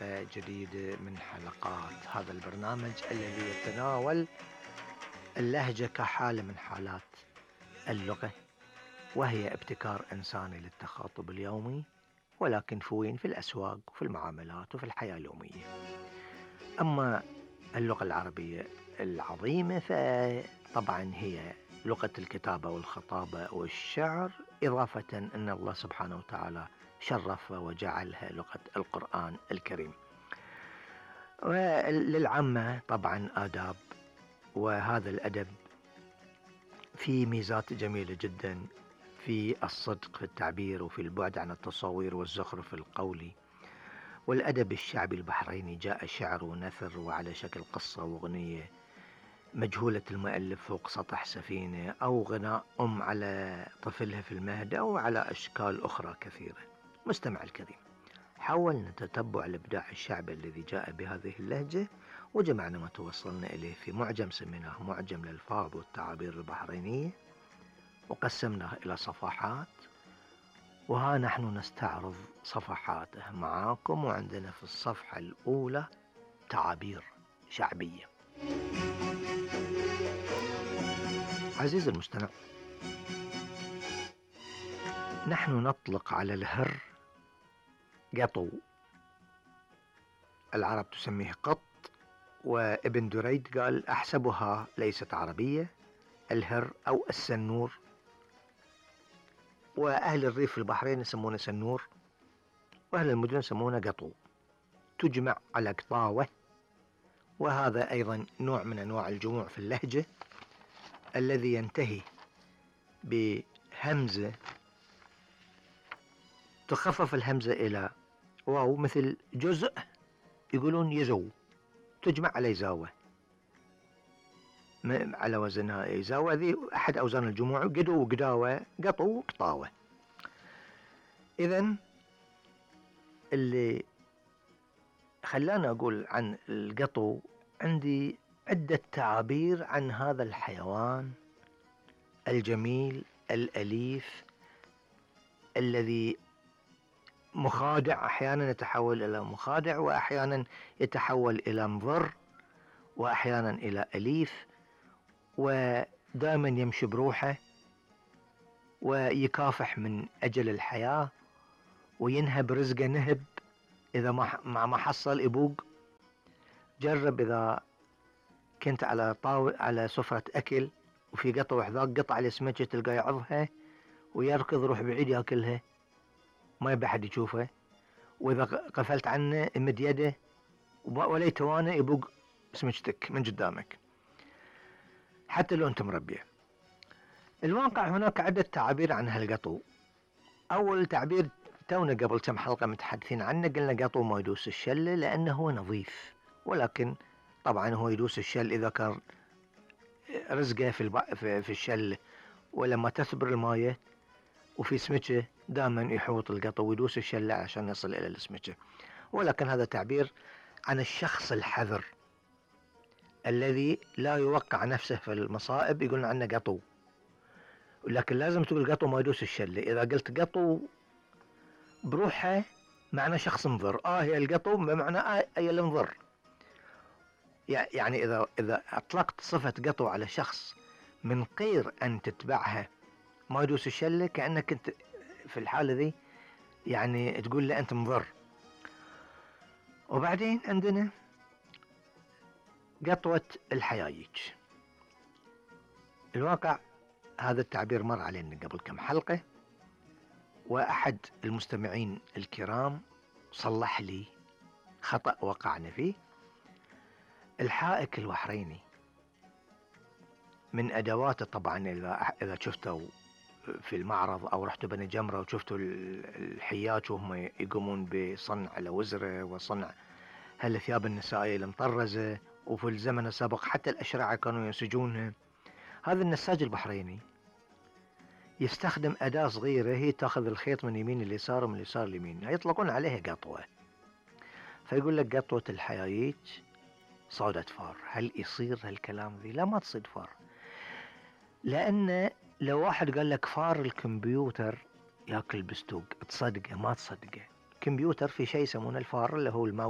حلقة جديدة من حلقات هذا البرنامج الذي يتناول اللهجة كحالة من حالات اللغة، وهي ابتكار إنساني للتخاطب اليومي، ولكن في الأسواق وفي المعاملات وفي الحياة اليومية. أما اللغة العربية العظيمة فطبعا هي لغة الكتابة والخطابة والشعر، إضافة أن الله سبحانه وتعالى شرف وجعلها لغة القرآن الكريم. وللعامة طبعا آداب، وهذا الأدب في ميزات جميلة جدا في الصدق في التعبير وفي البعد عن التصوير والزخرف القولي. والأدب الشعبي البحريني جاء شعر ونثر وعلى شكل قصة وأغنية مجهولة المؤلف فوق سطح سفينة، أو غناء على طفلها في المهد، أو على أشكال أخرى كثيرة. مستمع الكريم، حاولنا نتتبع الإبداع الشعبي الذي جاء بهذه اللهجة، وجمعنا ما توصلنا إليه في معجم سميناه معجم الألفاظ والتعابير البحرينية، وقسمناه إلى صفحات، وها نحن نستعرض صفحاته معاكم. وعندنا في الصفحة الأولى تعابير شعبية. عزيزي المستمع، نحن نطلق على الهر قطو، العرب تسميه قط، وابن دريد قال أحسبها ليست عربية، الهر أو السنور، وأهل الريف في البحرين يسمونه سنور، وأهل المدن يسمونه قطو، تجمع على قطاوة. وهذا أيضا نوع من أنواع الجموع في اللهجة الذي ينتهي بهمزة تخفف الهمزة إلى واو، مثل جزء يقولون يزو، تجمع على يزاوة، على وزنها يزاوة، ذي أحد أوزان الجموع، قدو وقداوة، قطو وقطاوة. إذن اللي خلاني أقول عن القطو، عندي عدة تعابير عن هذا الحيوان الجميل الأليف الذي مخادع، أحيانا يتحول إلى مخادع، وأحيانا يتحول إلى مضر، وأحيانا إلى أليف، ودائما يمشي بروحه، ويكافح من أجل الحياة، وينهب رزقه نهب إذا ما حصل يبوق. جرب إذا كنت على سفرة أكل وفي قطو حذاك قطع السمكة، تلقى يعضها ويركض روح بعيد ياكلها، ما يبي حد يشوفه. وإذا قفلت عنه يمد يده ولا يتوانى يبوق سمكتك من قدامك حتى لو أنت مربيه. الواقع هناك عدة تعابير عن هالقطو. أول تعبير تونا قبل كم حلقة متحدثين عنه، قلنا قطو ما يدوس الشلة لأنه هو نظيف، ولكن طبعا هو يدوس الشل إذا كان رزقه في الشل، ولما تثبر المايه وفي سمكة دائما يحوط القطو ويدوس الشلة عشان يصل إلى السمكة. ولكن هذا تعبير عن الشخص الحذر الذي لا يوقع نفسه في المصائب، يقولون عنه قطو. لكن لازم تقول قطو ما يدوس الشلة. إذا قلت قطو بروحها معنى شخص مضر، هي القطو بمعنى هي المضر. يعني إذا أطلقت صفة قطو على شخص من غير أن تتبعها ما يدوس الشلة، كأنك أنت في الحالة ذي يعني تقول له أنت مضر. وبعدين عندنا قطوة الحيايج. الواقع هذا التعبير مر علينا قبل كم حلقة، وأحد المستمعين الكرام صلح لي خطأ وقعنا فيه. الحائك البحريني من أدواته، طبعا إذا شفتوا في المعرض أو رحتوا بني جمرة وشفتوا الحياج وهم يقومون بصنع الوزرة وصنع هالثياب النسائية المطرزة، وفي الزمن السابق حتى الأشرعة كانوا ينسجونها. هذا النساج البحريني يستخدم أداة صغيرة، هي تأخذ الخيط من يمين اليسار ومن اليسار اليمين، يطلقون عليها قطوة. فيقول لك قطوة الحيايج صادت فار. هل يصير هالكلام ذي؟ لا، ما تصيد فار. لأن لو واحد قال لك فار الكمبيوتر ياكل بستوق، تصدقه؟ ما تصدقه. كمبيوتر في شيء يسمونه الفار اللي هو الماوس